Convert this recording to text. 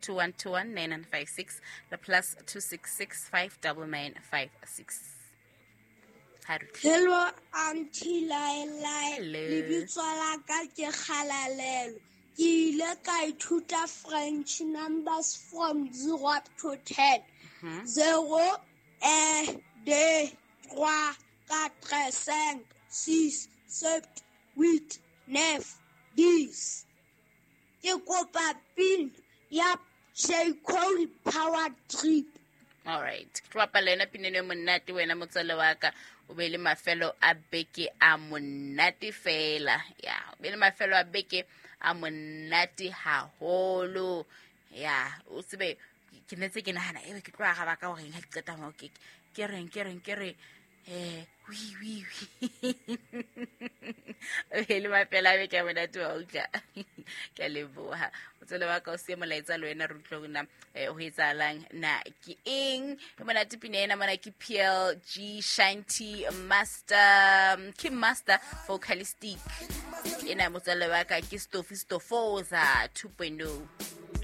2121 9956 le plus 266 599 56. Hello auntie Laelai, lebitso la ka ke Kgalalelo. Ke ile ka ithuta French numbers from 0 up to 10. 0, 1, 2, 3, 4, 5, 6, 7, 8, 9, 10. Ke kopa pin ya J. Cole Power Trip. All right, ke tlo bapala yona pineno e monate. Wena motswale wa ka, o be le mafelo a beke a monate fela. Ya, o be le mafelo a beke a monate haholo. Ya, o tsebe ke netse ke nagana ebe ke tlo araba ka goreng ga ke qeta mo ke reng ke reng ke re wi wi wi. O le mafela a beke a monate wa utlwa. Ke a leboha motswale wa ka, o sie molaetsa le wena re utlwe hore na ho etsahalang, na ke eng e monate. Pina ena mona ke PLG Shanti Master, ke Master Vocalistic ena. Motswale wa ka ke Stofi Stofoza 2.0.